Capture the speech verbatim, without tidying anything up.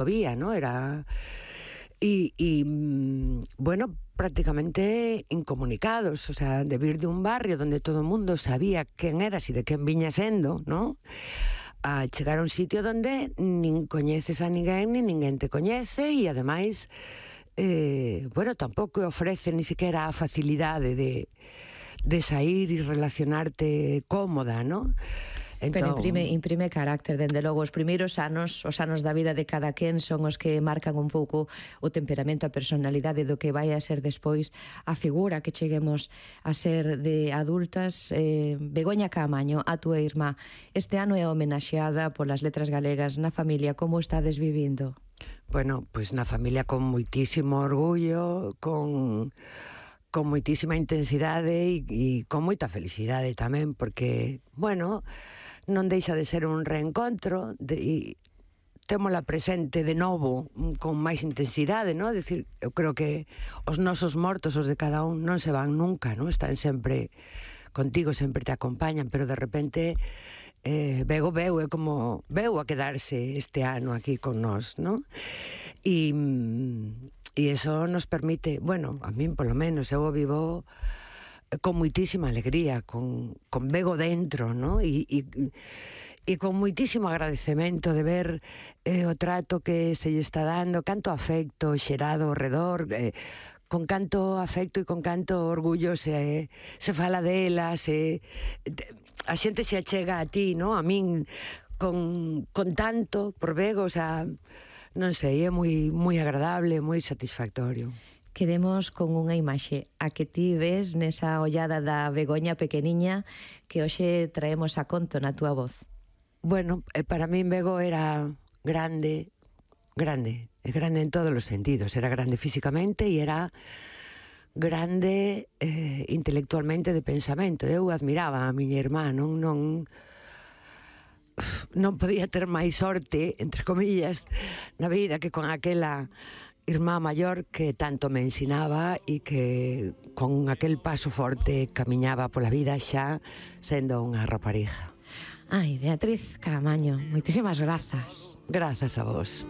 había, ¿no? Era... Y, y, bueno, prácticamente incomunicados, o sea, de vir de un barrio donde todo o mundo sabía quen eras e de quen viña sendo, ¿no? A chegar a un sitio donde nin coñeces a ninguén, nin ninguén te coñece, e ademais, eh, bueno, tampouco ofrece ni siquiera a facilidade de, de sair e relacionarte cómoda, ¿no? Pero imprime, imprime carácter, dende logo. Os primeiros anos, os anos da vida de cada quen son os que marcan un pouco o temperamento, a personalidade do que vai a ser despois a figura que cheguemos a ser de adultas. eh, Begoña Caamaño, a túa irmá, este ano é homenaxeada polas Letras Galegas na familia. Como estades vivindo? Bueno, pois pues na familia con moitísimo orgullo, con... con moitísima intensidade e, e con moita felicidade tamén, porque, bueno, non deixa de ser un reencontro de, e témola presente de novo con máis intensidade, non? Decir, eu creo que os nosos mortos, os de cada un, non se van nunca, non? Están sempre contigo, sempre te acompañan, pero de repente eh, Bego veu, é como veu a quedarse este ano aquí con nós, non? E... E iso nos permite, bueno, a min polo menos, eu o vivo con moitísima alegría, con, con Bego dentro, ¿no? E, e, e con moitísimo agradecemento de ver eh, o trato que se lle está dando, canto afecto xerado ao redor, eh, con canto afecto e con canto orgullo se, se fala dela, se, a xente se achega a ti, ¿no? A min, con, con tanto por Bego, o sea... non sei, é moi, moi agradable, moi satisfactorio. Quedemos con unha imaxe a que ti ves nesa ollada da Begoña pequeniña que hoxe traemos a conto na túa voz. Bueno, para min Bego era grande, grande, é grande en todos os sentidos. Era grande físicamente e era grande eh, intelectualmente de pensamento. Eu admiraba a miña irmá, non... non non podía ter máis sorte, entre comillas, na vida que con aquela irmá maior que tanto me ensinaba e que con aquel paso forte camiñaba pola vida xa sendo unha raparija. Ai, Beatriz Caamaño, moitísimas grazas. Grazas a vos.